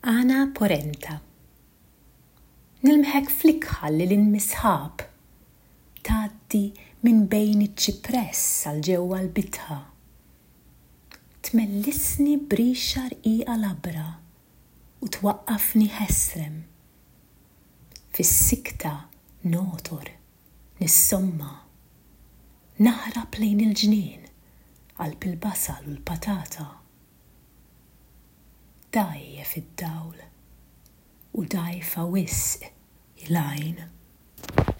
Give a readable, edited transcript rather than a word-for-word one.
Ana Porenta Nilmħek fl-ikħal lil hinn mis-sħab Tgħaddi minn bejn iċ-ċipress għal ġewwa l-bitħa. Tmellisni b'rixa rqiqa labra u twaqqafni ħesrem. Fis-sikta nogħtor, nissomma. Naħrab lejn il-ġnien, qalb il-basal u l-patata. Dgħajjef id-dawl u dgħajfa wisq hi l-għajn.